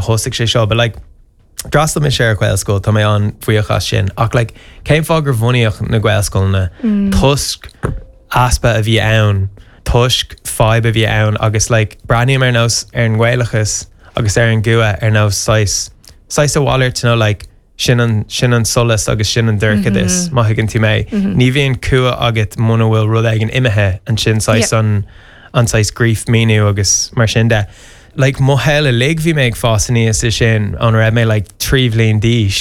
Thosaigh sé seo, but like, d'fhreastail mise ar Ghaelscoil, tá mé an-bhuíoch as sin, ach like, cén fáth gur bhunaíodh na Gaelscoileanna? Toisc easpa a bhí ann, toisc fadhb a bhí ann agus like, breathnaím ar nós ar an nGaelachas agus ar an gcumha ar nós saghas, saghas a mhalairt nó like, Sin an, sin an solas agus sin an dorchadas, má thuigeann tú mé. Ní bhíonn cumha agat muna bhfuil rud éigin imithe, ansin saghas an, an saghas grief míniú agus mar sin de. Like mo shaol uilig bhí mé ag fás aníos i sin óna raibh mé like 3 bhliain d'aois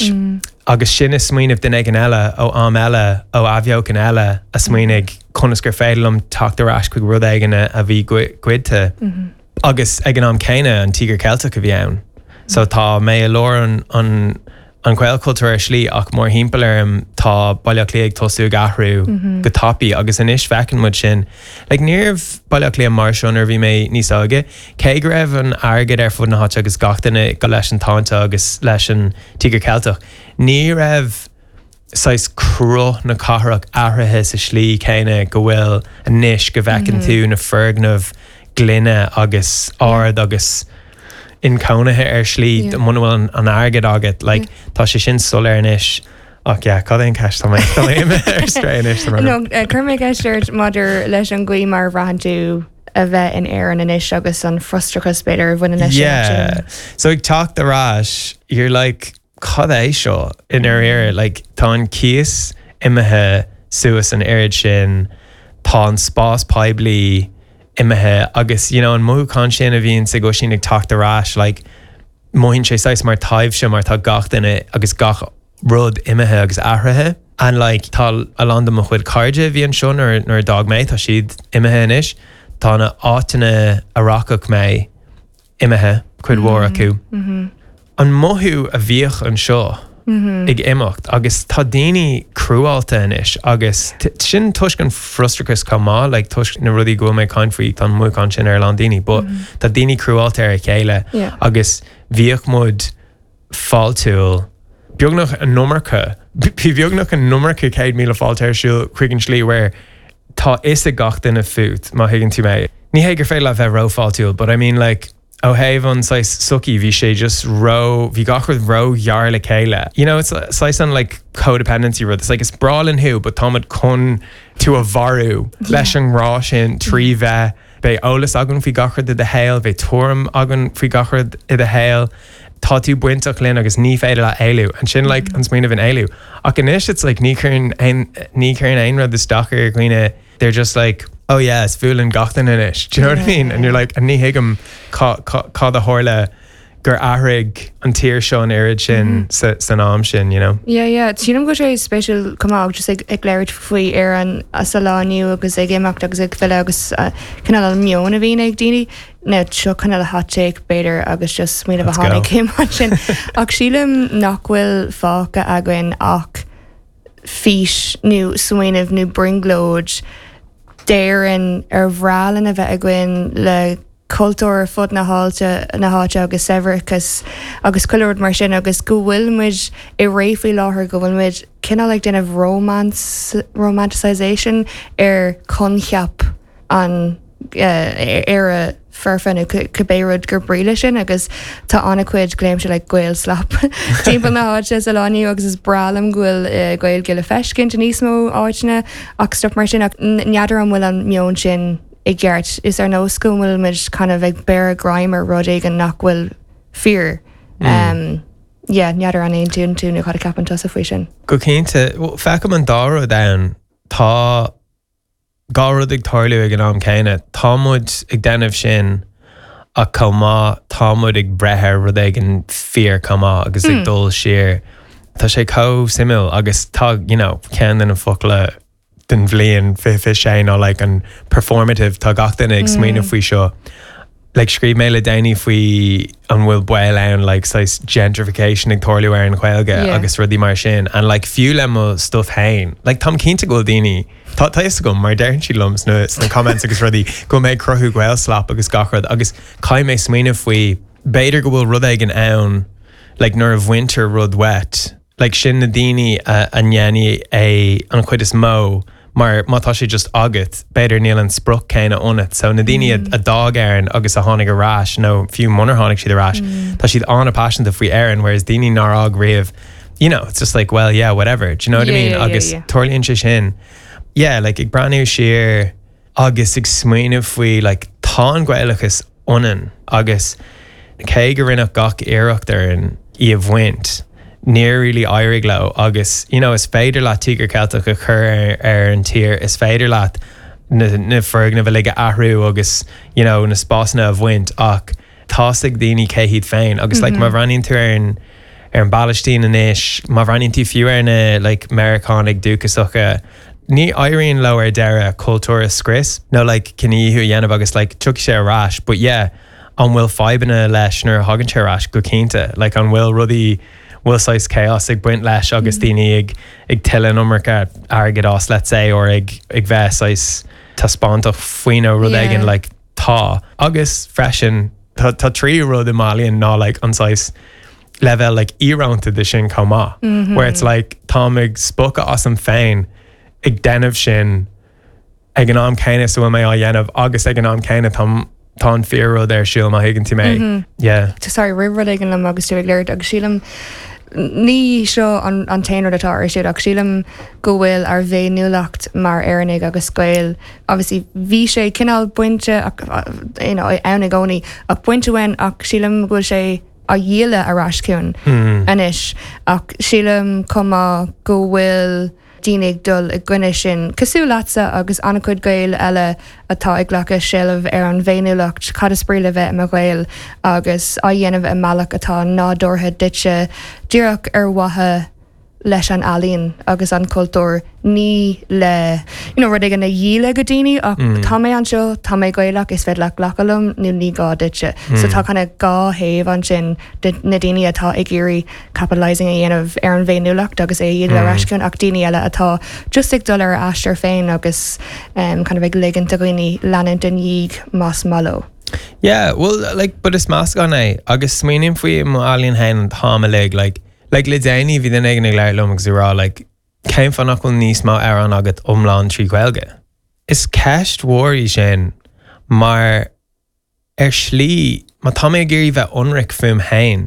agus sin is smaoineamh duine éigin eile ó am eile ó athbheochan eile a smaoinigh conas gur féidir liom teacht ar ais chuig rud éigin a bhí goidte. Agus ag an am céanna, an Tíogar Ceilteach a bhí ann. So tá mé i lár an, an, an Ghaelchultúir ar shlí ach mórthimpeall orm tá Baile Átha Cliath ag tosú ag athrú go tapaidh agus anois feiceann muid sin. Like ní raibh Baile Átha Cliath mar seo nuair a bhí mé níos óige. Cé go raibh an airgead ar fud na háite agus gach duine go leis an táinte agus leis an Tíogar Ceilteach, ní raibh saghas cruth na cathrach athraithe sa slí céanna go bhfuil anois, go bhfeiceann tú na foirgnimh gloine agus ard agus inchónaithe ar shlí muna bhfuil an airgead agat. Like, tá sé sin soiléir anois. Ach yeah, cad é an ceist? Tá mé tá mé imithe ar strae anois. Tá mé No, chuir mé ceist ort maidir leis an gcaoi mar a bhraitheann tú a bheith in Éirinn anois agus an frustrachas b'fhéidir a bhaineann leis sin. Yeah. So ag teacht ar ais, you're like, cad é seo i ndáiríre? Like, tá an cíos imithe suas an oiread sin, tá an spás poiblí imithe agus, you know, an mothúchán sin a bhíonns ag Oisín ag teacht ar ais, like, mothaíonn sé saghas mar taibhse mar tá gach duine agus gach rud imithe agus athraithe. And like, tá a lán de mo chuid cairde a bhí anseo nuair, nuair a d'fhág mé, tá siad imithe anois. Tá na áiteanna a rachadh mé, imithe, cuid mhór acu. An mothú a bhíodh anseo ag imeacht agus tá daoine cruálta anois agus sin toisc an frustrachas chomh maith, like toisc na rudaí go bhfuil mé ag caint faoi, tá an mothúchán sin ar a lán daoine, but tá daoine cruálta ar a chéile agus bhíodh muid fáiltiúil, beagnach an iomarca, bhí beagnach an iomarca 100,000 fáilte ar siúl chuig an slí where tá fhios ag gach duine fút, má thuigeann tú mé. Ní hé gur féidir leat bheith rófháiltiúil, but I mean like, ó thaobh an saghas sochaí, bhí sé just ró, bhí gach rud ró-ghearr le chéile. You know, it's saghas an like codependency rud, it's like is breá linn thú, but táimid chun tú a mharú leis an ngrá sin trí bheith Beidh eolas againn faoi gach rud i do shaol, beidh tuairim againn faoi gach rud i do shaol, tá tú bainteach linn agus ní féidir leat éalú. And sin like an smaoineamh in éalú. Ach anois it's like ní chuireann aon, ní chuireann aon rud isteach ar dhaoine, they're just like, oh yeah, is fuath linn gach duine anois. Do you know what I mean? And you're like, and ní thuigim cá, cá, cad a tharla gur athraigh an tír seo an oiread sin san am sin, you know? Yeah, yeah. Sílim go bhfuil sé spéisiúil chomh maith just ag ag labhairt faoi Éirinn sa lá inniu agus ag imeacht agus ag filleadh agus cineál an meon a bhíonn ag daoine. Now seo cineál hot take b'fhéidir agus just smaoineamh a Let's go. tháinig chugam ansin. Ach sílim nach bhfuil fágtha againn ach fís nó smaoineamh nó brionglóid d'Éirinn ar bhreá linn a bheith againn le cultúr ar fud na háite na háite agus saibhreachas agus chuile rud mar sin agus go bhfuil muid i ré faoi láthair go bhfuil muid cineál ag déanamh romance romanticisation ar choincheap an Éire foirfe nó cibé rud gur brí leis sin agus tá an-chuid glaoimse like Gaelslop timpeall na háite sa lá inniu agus is breá liom go bhfuil Gaeilge le feiscint i níos mó áiteanna ach stuff mar sin ach n'fheadar an bhfuil an meon sin i gceart. Is ar nós go bhfuil muid kind of ag beireadh greim ar rud éigin nach bhfuil fíor. Um, yeah, n'fheadar an aontaíonn tú nó cad a ceapann tusa faoi sin. Go cinnte. Well, feicim an dá rud ann. Tá dhá rud ag tarlú ag an am céanna. Tá muid ag déanamh sin ach chomh maith tá muid ag breith ar rud éigin fíor chomh maith agus ag dul siar. Tá sé chomh suimiúil agus tá, you know, ceann de na focla den bhliain 2026 ná like an performative, tá gach duine ag smaoineamh faoi seo. Like scríobh mé le déanaí faoi an bhfuil baol ann like saghas gentrification ag tarlú ar an Ghaeilge Yeah. agus rudaí mar sin and like fiú le mo stuff féin, like táim cinnte go bhfuil daoine, tá tá fhios agam mar deireann siad liom sna sna comments agus rudaí go bhfuil mé ag cruthú Gaelslop agus gach rud agus caithfidh mé smaoineamh faoi b'fhéidir go bhfuil rud éigin ann like nuair a bhaintear rud uait, Like sin na daoine a a ndéanfaidh é an chuid is mó. Mar má tá sé just agat, b'fhéidir níl an sprioc céanna ionat. So na daoine a d'fhág Éirinn agus a tháinig ar ais, nó fiú munar tháinig siad ar ais, tá siad an-paiseanta faoi Éirinn, whereas daoine nár fhág riamh, you know, it's just like, well, yeah, whatever. Do you know what I mean? Agus tarlaíonn sé sin. Yeah, like ag breathnú siar agus ag smaoineamh faoi, like, tá an Gaelachas ionainn agus cé go rinneadh gach iarracht orainn í a bhaint, níor really éirigh leo agus you know is féidir leat Tíogar Ceilteach a chur ar, ar an tír, is féidir leat na, na foirgnimh uilig a athrú agus you know na spásanna a bhaint ach tá's ag daoine cé hiad féin agus like má bhreathnaíonn tú ar an ar an bPalaistín anois, má bhreathnaíonn tú fiú ar na like Meiriceánaigh dúchasacha, ní éiríonn leo ar deireadh cultúr a scrios nó like cinedhíothú a dhéanamh agus like tiocfaidh sé ar ais but yeah an bhfuil fadhbanna leis nuair a thagann sé ar ais? Go cinnte. Like an bhfuil rudaí, bhfuil saghas chaos ag baint leis agus daoine ag ag tuilleadh an iomarca airgid as let's say or ag ag bheith saghas taispeántach faoi nó rud éigin like tá. Agus freisin tá tá tríú rud i m'ealaíon ná like an saghas leibhéal like íorónta de sin chomh maith where it's like táim ag spochadh asam féin ag déanamh sin ag an am céanna is a bhfuil mé á dhéanamh agus ag an am céanna tá tá an fíor rud ar siúl má thuigeann tú mé. Yeah. Sorry, rith rud éigin liom agus tú ag labhairt agus sílim ní seo an, an t-aon rud atá ar siúl ach sílim go bhfuil ár bhféiniúlacht mar Éireannaigh agus Gaeil obviously bhí sé cineál bainte ach, you know, ann i gcónaí ach bainte uainn ach sílim go bhfuil sé á dhíol ar ais chugainn anois ach sílim chomh maith go bhfuil daoine ag dul i gcoinne sin, cosúil leatsa agus an-chuid Gaeil eile atá ag glacadh seilbh ar an bhféiniúlacht, cad is brí le bheith i mo Ghael agus á dhéanamh i mbealach atá nádúrtha duitse, díreach ar mhaithe leis an ealaín agus an cultúr, ní le you know rud éigin a dhíol go daoine ach tá mé anseo, tá mé Gaelach, is féidir leat glacadh liom nó ní gá duitse. So tá kind of dhá thaobh ansin de na daoine atá ag iarraidh capitalising a dhéanamh ar an bhféiniúlacht agus é a dhíol ar ais chugainn ach daoine eile atá just ag dul ar a aistear féin agus um, kind of ag ligint do dhaoine leanúint ina ndiaidh más maith leo. Yeah, well, like, but is meascán é agus smaoiním faoi mo ealaíon féin an t-am uilig, like, Like le déanaí bhí duine éigin ag labhairt liom agus ag rá like cén fáth nach bhfuil níos mó amhrán agat iomlán trí Ghaeilge? Is ceist mhór í sin mar ar shlí má tá mé ag iarraidh bheith ionraic fúm féin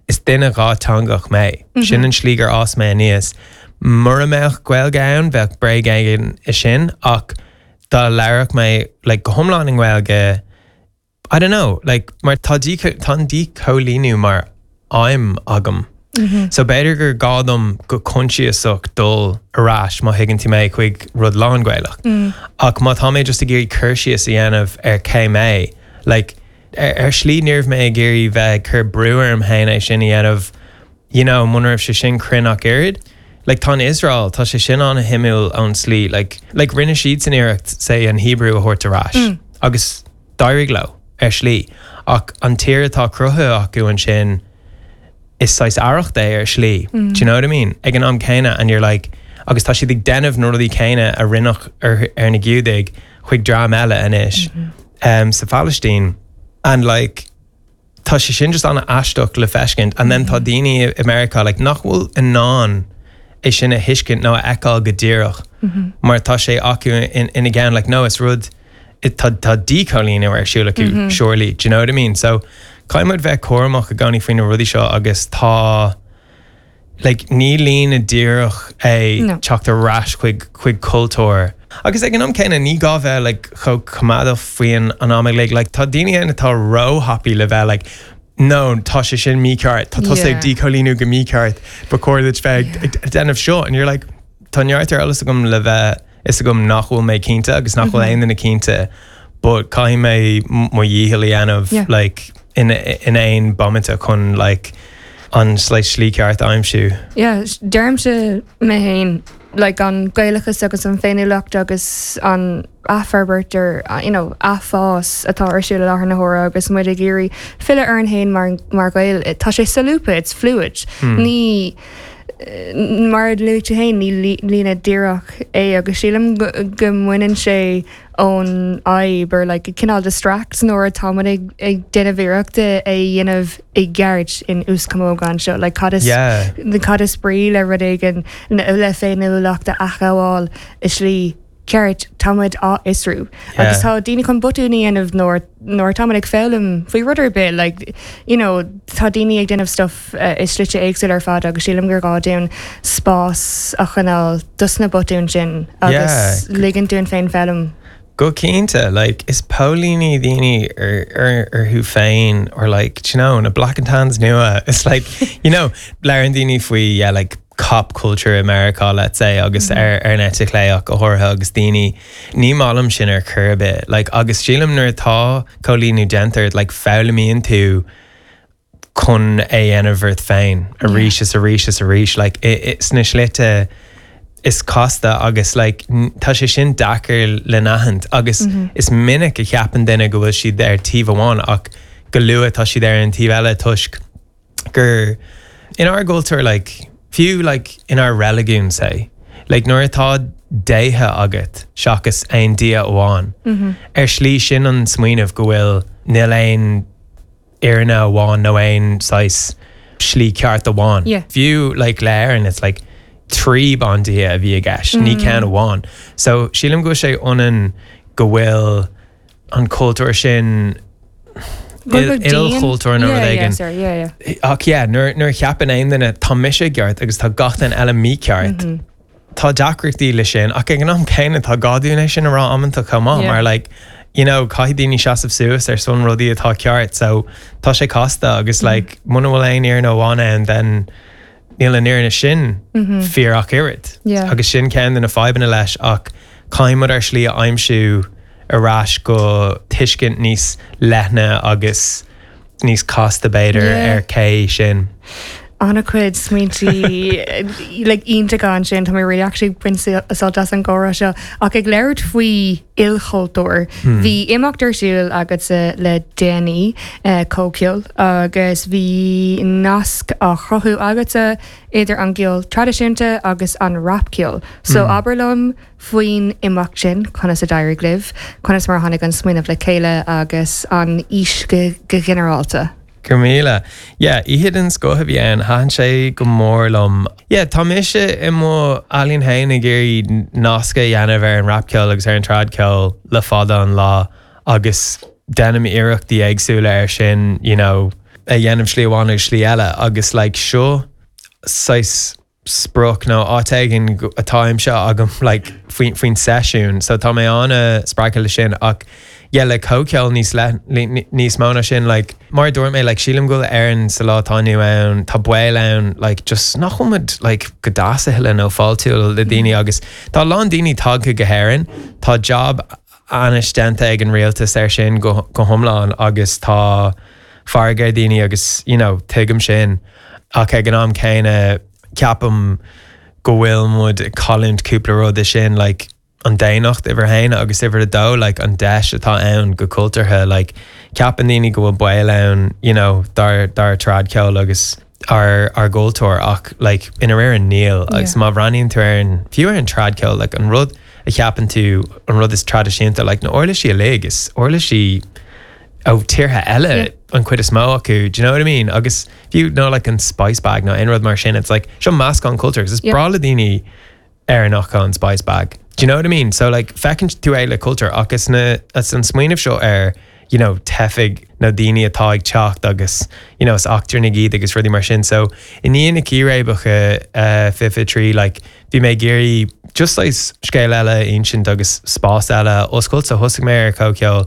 is duine dhátheangach mé. Sin an slí gur fhás mé aníos. Mura mbeadh Gaeilge ann bheadh bréag éigin i sin ach dá labhródh mé like go hiomlán i nGaeilge I don't know, like, mar tá tá an díchoilíniú mar aidhm agam. So b'fhéidir gur gá dom go coinsiasach dul ar ais, má thuigeann tú mé, chuig rud lán-Ghaelach. Ach má tá mé just ag iarraidh cur síos a dhéanamh ar cé mé, like, ar, ar shlí ní raibh mé ag iarraidh bheith ag cur brú orm féin é sin a dhéanamh, you know, muna raibh sé sin cruinn ach oiread. Like, tá an Iosrael, tá sé sin an-shuimiúil ón slí, like, like rinne siadsan iarracht, say, an Hebrew a thabhairt ar ais. Agus D'éirigh leo, ar shlí, ach an tír atá cruthaithe acu ansin, is saghas arracht é ar shlí. Do you know what I mean? Ag an am céanna and you're like, agus tá siad ag déanamh na rudaí céanna a rinneadh ar, ar na Giúdaigh chuig dream eile anois um, sa Phalaistín. And like, tá sé sin just an-aisteach le feiscint and then tá daoine i Meiriceá like nach bhfuil in ann é sin a thuiscint nó a fheiceáil go díreach mar tá sé acu ina gceann like no is rud tá tá díchoilíniú ar siúl acu surely do you know what I mean so caithfidh muid bheith cúramach i gcónaí faoi na rudaí seo agus tá like ní líne díreach é No. teacht ar ais chuig chuig cultúr. Agus ag an am céanna ní gá bheith like chomh coimeádach faoi an an am uilig. Like tá daoine ann atá róthapaidh le bheith like no tá sé sin mícheart, tá tusa ag Yeah. díchoilíniú go mícheart, ba chóir duit bheith ag ag déanamh seo and you're like tá neart ar eolas agam le bheith fhios agam nach bhfuil mé cinnte agus nach bhfuil aon duine cinnte but caithfidh mé mo dhícheall a dhéanamh Yeah. like in in aon bomaite chun like an like slí ceart a aimsiú. Yeah, deirimse mé féin like an Gaelachas agus an féiniúlacht agus an athfhorbairt ar you know athfhás atá ar siúl i láthair na huaire agus muid ag iarraidh filleadh orainn féin mar mar Ghaeil, tá sé solúbtha, it's fluid. Ní. Mar a luaigh tú féin, ní líne díreach é agus sílim go mbaineann sé ón fhadhb or like cineál distracts nuair atá muid ag ag déanamh iarrachta é a dhéanamh i gceart in uaschamóga anseo. Like cad is Yeah. cad is brí le rud éigin le féiniúlacht a athghabháil i slí ceart, tá muid á fhiosrú. Agus tá daoine chun botúin a dhéanamh nuair nuair atá muid ag foghlaim faoi rud ar bith, like, you know, tá daoine ag déanamh stuff i slite éagsúla ar fad agus sílim gur gá dúinn spás a choinneáil dos na botúin sin agus ligint dúinn féin foghlaim. Go cinnte, like, is póilíní daoine ar, ar, orthu féin or like, do you know, na Black and Tans nua, it's like, you know, labhrann daoine faoi, yeah, like, cop culture i Meiriceá, let's say, agus ar ar an eite chlé ach go háirithe agus daoine, ní maith liom sin ar chor ar bith. Like, agus sílim nuair atá coilíniú déanta ort, like, foghlaimíonn tú chun é a dhéanamh ort féin arís is arís is arís, like, i, i, sna slite is casta agus like, tá sé sin deacair le n-aithint agus is minic a cheapann duine go bhfuil siad ar taobh amháin ach go luath tá siad ar an taobh eile toisc gur inár gcultúr like fiú like inár reiligiún say like nuair atá déithe agat seachas aon Dia amháin ar shlí sin an smaoineamh go bhfuil níl aon fhírinne amháin nó aon saghas slí ceart amháin. Yeah. Fiú like le Éirinn it's like 3 bandia a bhí i gceist, ní ceann amháin. So sílim go bhfuil sé ionann go bhfuil an cultúr sin ilchultúr nó rud éigin. Ach yeah, nuair a cheapann aon duine tá mise i gceart agus tá gach duine eile mícheart, tá deacrachtaí le sin ach ag an am céanna tá gá dúinn é sin a rá amanta chomh maith mar like, you know, caithfidh daoine seasamh suas ar son rudaí atá ceart so tá sé casta agus like, muna bhfuil aon fhírinne amháin ann then níl an fhírinne sin fíor ach oiread. Agus sin ceann de na fadhbanna leis ach caithfidh muid ár slí a aimsiú ar ais go tuiscint níos leithne agus níos casta b'fhéidir ar cé sinn. An-chuid smaointe like iontacha ansin, tá mé really actually ag baint sult as an gcomhrá seo. Ach ag labhairt faoi ilchultúr, bhí imeacht ar siúl agatsa le déanaí, Comhcheol, agus bhí nasc á chruthú agatsa idir an gceol traidisiúnta agus an rapcheol. So abair liom faoin imeacht sin, conas a d'éirigh libh, conas mar a tháinig an smaoineamh le chéile agus an fhís go ginearálta? Go raibh míle. Yeah, oíche den scoth a bhí ann, thaitin sé go mór liom. Yeah, tá mise i mo ealaín féin ag iarraidh nasc a dhéanamh ar an rapcheol agus ar an tradcheol le fada an lá agus déanaim iarrachtaí éagsúla ar sin, you know, a dhéanamh slí amháin agus slí eile agus like seo saghas sprioc nó áit éigin atá aimsithe agam like faoin faoin seisiún so tá mé an-spreagtha le sin ach yeah le comhcheol níos le níos mó ná sin like mar a dúirt mé like sílim go bhfuil Éirinn sa lá atá inniu ann tá baol ann like just nach bhfuil muid like go deas a thuilleadh nó fáiltiúil le daoine agus tá a lán daoine tagtha go hÉirinn tá jab ainnis déanta ag an rialtas air sin go go hiomlán agus tá fearg ar daoine agus you know tuigim sin ach ag an am céanna ceapaim go bhfuil muid ag cailliúint cúpla rud is sin like an daonnacht uimhir a haon agus uimhir a dó like an deis atá ann go cultúrtha like ceapann daoine go bhfuil baol ann you know dár dár tradcheol agus ár ár gcultúr ach like i ndáiríre níl agus má bhreathnaíonn tú ar an fiú ar an tradcheol like an rud a cheapann tú an rud is traidisiúnta like na uirlisí uilig is uirlisí ó tíortha eile an chuid is mó acu, do you know what I mean? Agus fiú nó like an spice bag nó aon rud mar sin, it's like seo meascán cultúr agus is breá le daoine Éireannacha an spice bag. Do you know what I mean? So like feiceann tú é le cultúr ach is na is an smaoineamh seo ar you know teifigh nó daoine atá ag teacht agus you know is eachtrannaigh iad agus rudaí mar sin. So i ndiaidh na círéibeacha uh, 23 like bhí mé ag iarraidh just saghas scéal eile a insint agus spás eile a oscailt so thosaigh mé ar comhcheol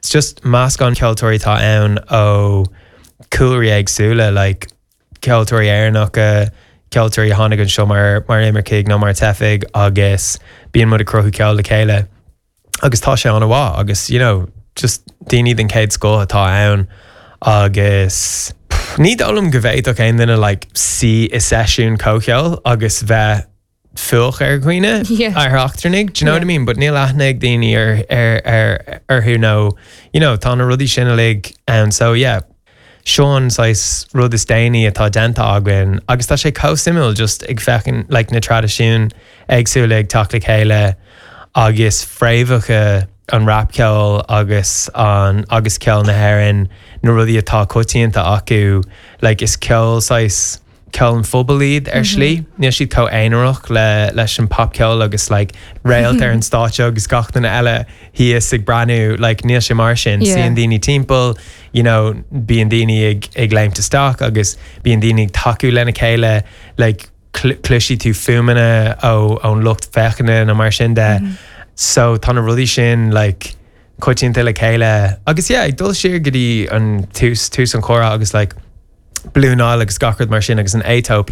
It's just meascán ceoltóirí atá ann ó cúlraí éagsúla, like ceoltóirí Éireannacha, ceoltóirí a tháinig anseo mar mar imircigh nó mar teifigh agus bíonn muid ag cruthú ceol le chéile agus tá sé an-mhaith agus you know just daoine den chéad scoth atá ann agus ní dóigh liom go bhféadfadh aon duine like suí i seisiún comhcheoil agus bheith fuath ar dhaoine ar eachtrannaigh, do you know what I mean? But níl aithne ag daoine ar ar ar orthu nó you know tá na rudaí sin uilig ann so yeah. seo an saghas rud is déanaí atá déanta againn agus tá sé chomh suimiúil just ag féachaint like na traidisiúin éagsúla ag teacht le chéile agus fréamhacha an rapcheoil agus an agus ceol na hÉireann na rudaí atá coitianta acu like is ceol saghas ceol an phobail iad ar shlí. Níl siad chomh aonarach le leis an popcheol agus like réalt ar an stáitse agus gach duine eile thíos ag breathnú like níl sé mar sin. Suíonn daoine timpeall, you know, bíonn daoine ag ag léimt isteach agus bíonn daoine ag tacú lena chéile like cloisfidh tú fuaimeanna ó ón lucht féachana nó mar sin de. So tá na rudaí sin like coitianta le chéile agus yeah ag dul siar go dtí an tús tús an chomhrá agus like Blue Nile agus gach rud mar sin agus an Aetóip.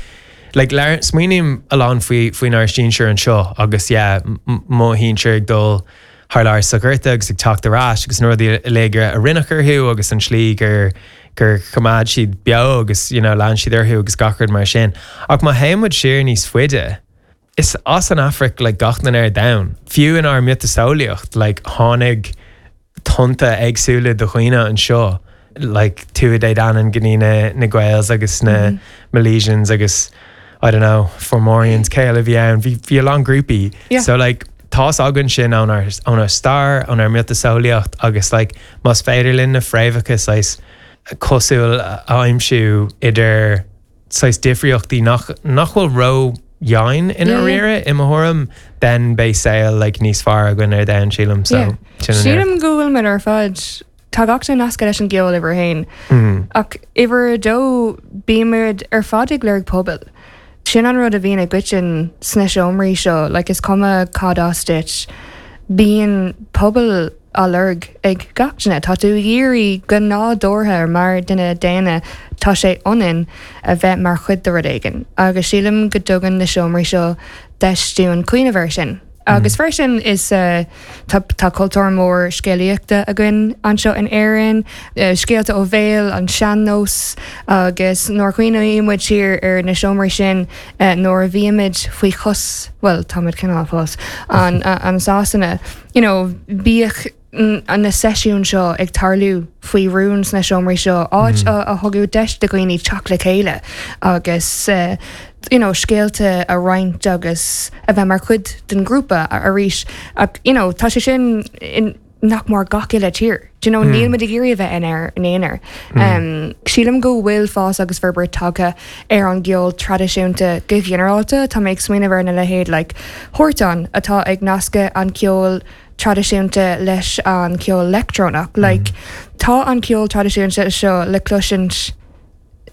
Like labhair smaoiním a lán faoi faoinár sinsir anseo agus yeah mo shinsir ag dul thar lear sa Ghorta agus ag teacht ar ais agus na rudaí uilig a rinneadh orthu agus an tslí gur gur choimeád siad beo agus you know lean siad orthu agus gach rud mar sin. Ach má théann muid siar níos faide, is as an Afraic like gach duine ar domhan. Fiú inár miotaseolaíocht like tháinig tonnta éagsúla de dhaoine anseo like Tuatha Dé Danann go dtí na na Gaels agus na Milesians agus I don't know, Fomorians, cé eile a bhí ann, bhí bhí a lán grúpaí. Yeah. So like tá's againn sin ónár ónár stair, ónár miotaseolaíocht agus like más féidir linn na fréamhacha saghas cosúil a aimsiú idir saghas difríochtaí nach nach bhfuil ró-dhian i ndáiríre i mo thuairim, then beidh saol like níos fearr againn ar domhan sílim. So Yeah. sin an Sílim go bhfuil muid ar fad Tá gach duine nasctha leis an gceol uimhir a haon. Ach uimhir a dó, bímid ar fad ag lorg pobail. Sin an rud a bhíonn i gcoiteann sna seomraí seo, like is cuma cad as duit, bíonn pobal á lorg ag gach duine. Tá tú ag iarraidh go nádúrtha mar duine daonna, tá sé ionainn a bheith mar chuid de rud éigin. Agus sílim go dtugann na seomraí seo deis dúinn cuimhneamh air sin. Agus freisin is tá tá cultúr mór scéalaíochta againn anseo in Éirinn, scéalta ó bhéal, an sean-nós, agus nuair a chuimhníonn muid siar ar na seomraí sin nuair a bhímid faoi chos, bhuel táimid cineál fós, an an Sasana, you know, bíodh na seisiúin seo ag tarlú faoi rún sna seomraí seo, áit a thugadh deis do dhaoine teacht le chéile agus you know scéalta a roinnt agus a bheith mar chuid den ghrúpa arís. Ach you know tá sé sin in nach mór gach uile tír. Do you know níl muid ag iarraidh a bheith inár n-aonar. Sílim go bhfuil fás agus forbairt tagtha ar an gceol traidisiúnta go ginearálta. Tá mé ag smaoineamh ar na leithéid like Hortán atá ag nascadh an ceol traidisiúnta leis an ceol leictreonach. Like, tá an ceol traidisiúnta seo le cloisint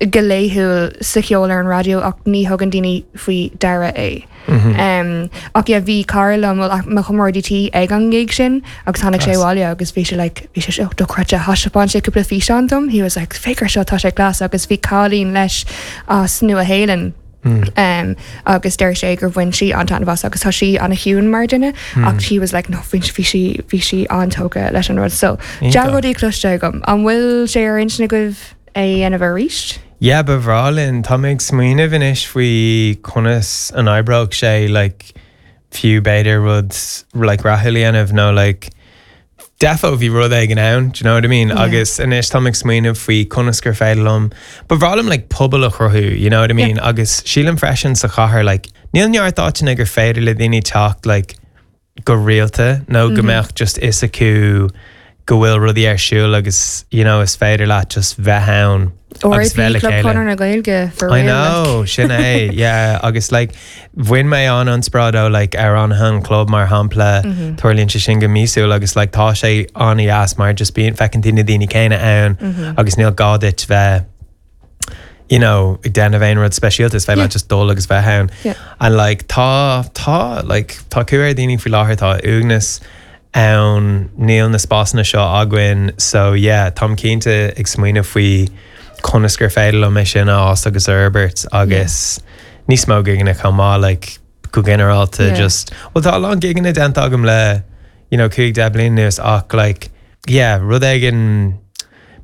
go laethúil sa cheol ar an raidió ach ní thugann daoine faoi deara é. Um, ach yeah, bhí cara liom, well, mo chomrádaí tí ag an ngig sin agus tháinig sé abhaile agus bhí sé like, bhí sé oh, dochreidte, thaispeáin sé cúpla físeán dom, he was like, féach air seo, tá sé class agus bhí cailín leis as Nua Shéalainn. Agus deir sé gur bhain sí an-taitneamh as agus tá sí an-chiúin mar duine ach she was like no bhí bhí sí bhí sí an-tógtha leis an rud so dea-rudaí cloiste agam. An bhfuil sé ar intinn agaibh é a dhéanamh arís? Yeah, ba bhreá linn. Tá mé ag smaoineamh anois faoi conas an oibreodh sé like fiú b'fhéidir rud like rathúil a dhéanamh nó like Defo bhí rud éigin ann, do you know what I mean? Agus anois táim ag smaoineamh faoi conas gur féidir liom, ba bhreá liom like pobal a chruthú, you know what I mean? Agus sílim freisin sa chathair like níl neart áiteanna gur féidir le daoine teacht like go rialta nó go mbeadh just fhios acu go bhfuil rudaí ar siúl agus you know is féidir leat just bheith ann agus bheith le chéile. Club Chonradh na Gaeilge for real. I know, sin é, yeah, agus like bhain mé an-inspioráid ó like Amhránaithe an Chlub mar shampla, tarlaíonn sé sin go míosúil agus like tá sé an-dheas mar just bíonn, feiceann tú na daoine céanna ann agus níl gá duit bheith you know, ag déanamh aon rud speisialta, is féidir leat just dul agus bheith ann. And like tá, tá, like tá cumha ar dhaoine faoi láthair, tá uaigneas ann, níl na spásanna seo againn so yeah, táim cinnte ag smaoineamh faoi conas gur féidir liom é sin a fhás agus a fhorbairt agus níos mó gigeanna chomh maith like go ginearálta just, well tá a lán gigeanna déanta agam le you know 5, 10 bliain anuas ach like yeah, rud éigin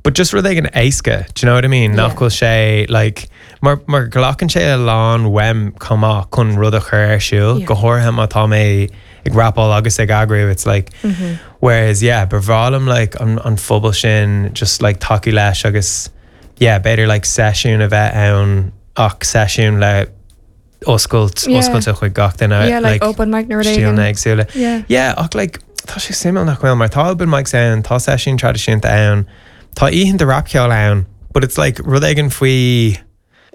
but just rud éigin éasca, do you know what I mean? Nach bhfuil sé like mar mar glacann sé a lán uaim chomh maith chun rud a chur ar siúl, go háirithe má tá mé ag rapáil agus ag eagrú, it's like whereas yeah, ba bhreá liom like an an phobal sin just like tacú leis agus. yeah b'fhéidir like seisiún a bheith ann ach seisiún le oscailt oscailte chuig gach duine Yeah, like open mic nó rud éigin. stíleanna éagsúla. Yeah. Yeah, ach like tá sé suimiúil nach bhfuil mar tá open mics ann, tá seisiún traidisiúnta ann, tá oícheanta rapcheoil ann, but it's like rud éigin faoi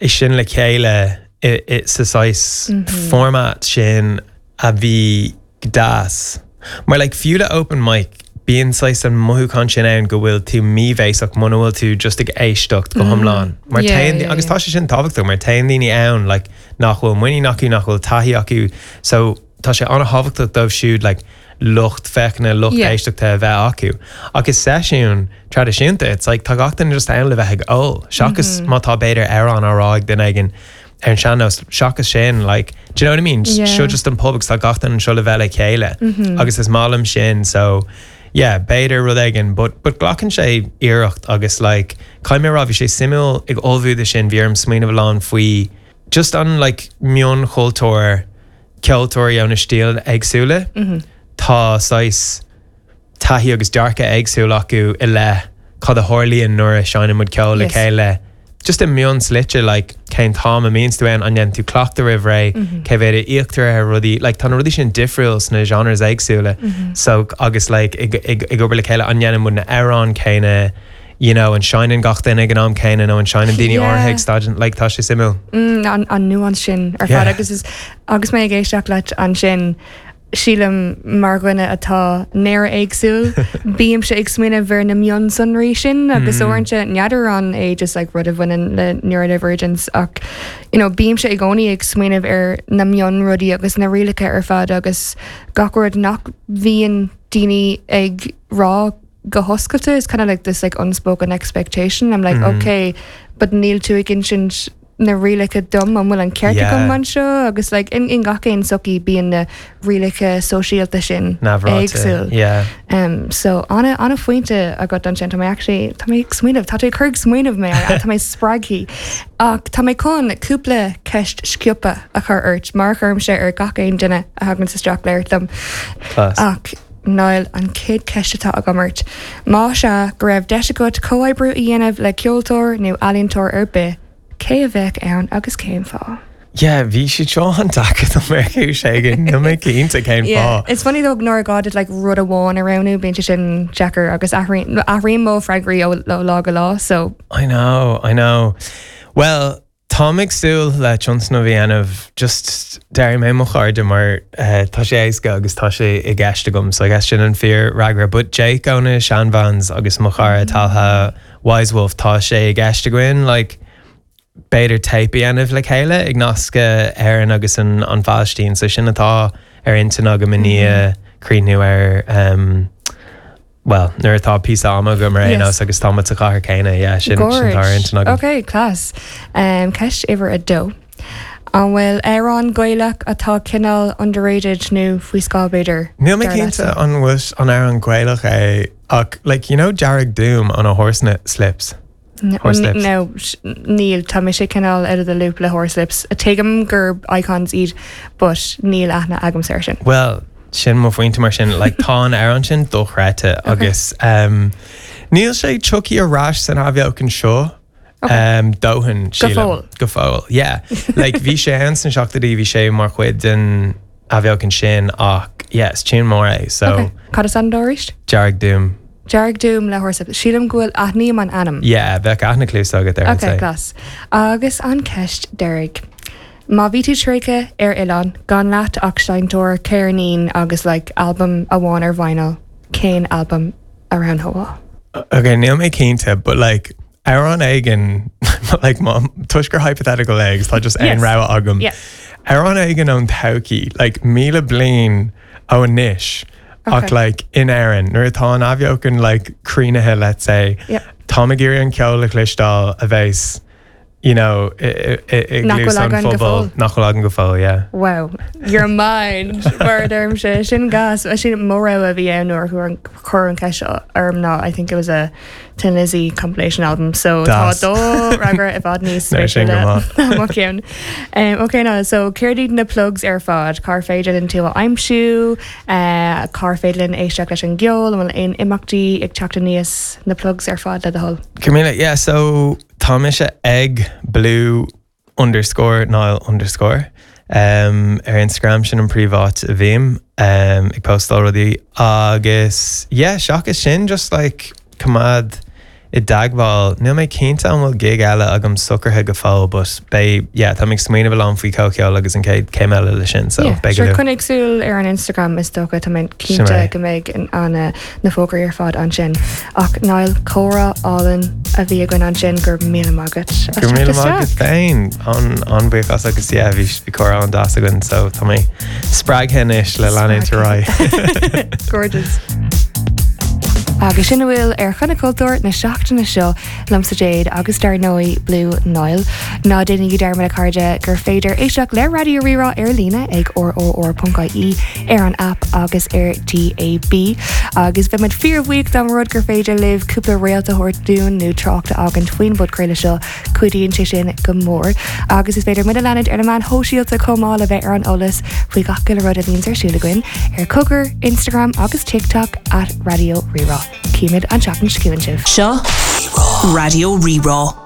é sin le chéile i, i, sa saghas format sin a bhí go deas. Mar like fiú le open mic bíonn saghas an mothúchán sin ann go bhfuil tú míbhéasach muna bhfuil tú just ag éisteacht go hiomlán. Mar téann, agus tá sé sin tábhachtach mar téann daoine ann like nach bhfuil muinín acu, nach bhfuil taithí acu so tá sé an-thábhachtach dóibh siúd like lucht féachana, lucht éisteachta a bheith acu. Ach i seisiún traidisiúnta it's like tá gach duine just ann le bheith ag ól seachas má tá b'fhéidir amhrán á rá ag duine éigin ar an sean-nós seachas sin like do you know what I mean? Yeah. Seo just an pub agus tá gach duine anseo le bheith le chéile agus is maith liom sin so yeah b'fhéidir rud éigin but but glacann sé iarracht agus like caithfidh mé a rá bhí sé suimiúil ag ullmhú do sin bhí orm smaoineamh a lán faoi just an like mionchultúr ceoltóirí ó na stíl éagsúla tá saghas taithí agus dearcadh éagsúil acu i leith cad a tharlaíonn nuair a seinneann muid ceol le chéile. Just i mionslite like cén t-am a mbíonns tú ann, an ndéanann tú cleachtadh roimh ré, cé mhéad a íoctar ar rudaí, like tá na rudaí sin difriúil sna genres éagsúla so agus like ag ag ag obair le chéile an ndéanann muid na hamhráin céanna, you know an seinneann gach duine ag an am céanna nó an seinneann daoine áirithe ag staideanna, like tá sé suimiúil. Mm, an an nuance sin ar fad agus is agus mé ag éisteacht leat ansin, Sílim, mar dhuine atá néara-éagsúil, bímse ag smaoineamh ar na mionsonraí sin agus uaireanta n'fheadar an é just like rud a bhaineann le neurodivergence ach you know bímse i gcónaí ag smaoineamh ar na mionrudaí agus na rialacha ar fad agus gach rud nach bhíonn daoine ag rá go hoscailte it's kind of like this like unspoken expectation I'm like okay but níl tú ag insint na rialacha dom, an bhfuil an ceart agam anseo agus like in in gach aon sochaí bíonn na rialacha sóisialta sin éagsúil. Yeah. Um, so ana ana phointe agat ansin tá mé actually tá mé ag smaoineamh tá tú ag cur ag smaoineamh mé tá mé spreagtha ach tá mé chun cúpla ceist sciobtha a chur ort mar a chuirimse ar gach aon duine a thagann isteach labhairt liom. Class. Ach Niall, an chéad cheist atá agam ort, más ea go raibh deis agat comhoibriú a dhéanamh le ceoltóir nó ealaíontóir ar bith, cé a bheadh ann agus cén fáth? Yeah, bhí siad seo an-deacair dom ar chúis éigin, níl mé cinnte cén Yeah, fáth. it's funny though nuair gá duit like rud amháin a roghnú, bíonn sé sin deacair agus athraíonn athraíonn mo freagraí ó ó lá go lá, so. I know, I know. Well, Táim ag súil le tionscnamh a dhéanamh, just déarfaidh mé mo chairde mar tá sé éasca agus tá sé i gceist agam, so I guess sin an fíor-fhreagra. But Jake ó na Shan Vans agus mo chara Talha Wise Wolf, tá sé i gceist againn like b'fhéidir téip a dhéanamh le chéile ag nascadh Éirinn agus an an Phalaistín, so sin atá ar intinn agam i ndiaidh críochnú ar um, Bhuel, nuair atá píosa ama agam ar aon nós agus tá muid sa chathair céanna, yeah, sin sin atá ar intinn agam. Ok, class. Um, ceist uimhir a dó. An bhfuil amhrán Gaelach atá cineál underrated nó faoi scáth b'fhéidir? Níl mé cinnte an bhfuil an amhrán Gaelach é ach like you know Dearg Doom ó na Horslips? Horslips. No, níl, tá mise cineál out of the loop le Horslips. Tuigim gur icons iad but níl aithne agamsa air sin. Well, sin mo phointe mar sin, like tá an amhrán sin dochreidte agus um, níl sé tagtha ar ais san athbheochan seo um, dóthain, sílim. Go fóill. Go fóill, yeah. Like bhí sé ann sna seachtóidí, bhí sé mar chuid den athbheochan sin ach yeah, is tune mór é, so. Okay. Cad is ainm dó arís? Dearg Doom. Dearg Doom le Horslips. Sílim go bhfuil aithním an ainm. Yeah, bheadh aithne cluasa agat air, I'd Ok, say. class. Agus an ceist deiridh. Má bhí tú tréigthe ar oileán, gan leat ach seinnteoir ceirnín agus like albam amháin ar vinyl, cén albam a roghnófá? Ok, níl mé cinnte, but like amhrán éigin, like má, toisc gur hypothetical é agus tá just aon Yes. rogha agam. Yeah. Amhrán éigin ón todhchaí, like 1,000 bliain ó anois, ach like in Éirinn, nuair atá an athbheochan like críochnaithe let's say, táim ag iarraidh an ceol a chloisteáil a bheas you know i gcluas an phobail nach bhfuil againn go fóill, yeah. Wow, your mind mar a deirimse, sin gas. Sin mo rogha a bhí ann nuair a cuireadh an cheist orm ná I think it was a Thin Lizzy compilation album so tá do fhreagra i bhfad níos spéisiúla ná mo cheann. Ok now so céard iad na plugs ar fad? Cár féidir linn tú a aimsiú? Cár féidir linn éisteacht leis an gceol? An bhfuil aon imeachtaí ag teacht aníos? Na plugs ar fad le do thoil. Camilla, yeah so. tá mise ag blue underscore Niall underscore um, ar Instagram sin an príomháit a bhím um, ag postáil rudaí agus yeah, seachas sin just like coimeád i dteagmháil. Níl mé cinnte an bhfuil gig eile agam socraithe go fóill but beidh, yeah, táim ag smaoineamh a lán faoi comhcheol agus an chéad céim eile le sin so beidh go luath. Coinnigh súil ar an Instagram is dócha, tá mé cinnte go mbeidh an na fógraí ar fad ansin. Ach Niall, comhrá álainn a bhí againn ansin, go raibh míle maith agat as teacht isteach. Go raibh míle maith agat féin, an-bhuíoch as agus yeah, bhí comhrá an-deas againn so tá mé spreagtha anois le leanúint ar aghaidh. Gorgeous. Agus sin a bhfuil ar Choinne Cultúir na seachtaine seo liomsa Jade agus dar ndóigh Blue Niall. Ná déanaigí dearmad a chairde gur féidir éisteacht le Raidió Rí-Rá ar líne ag rrr.ie ar an aip agus ar DAB. Agus bheadh muid fíorbhuíoch dá mba rud gur féidir libh cúpla réalt a thabhairt dúinn nó trácht a fhágaint faoin bpodchraoladh seo Cuidíonn sé sin go mór. Agus is féidir muid a leanúint ar na meáin shóisialta chomh maith le bheith ar an eolas faoi gach uile rud a bhíonns ar siúl againn ar Cogar, Instagram agus TikTok at Raidió Rí-Rá. Címid an tseachtain seo chugainn sibh. Seo Raidió Rí-Rá.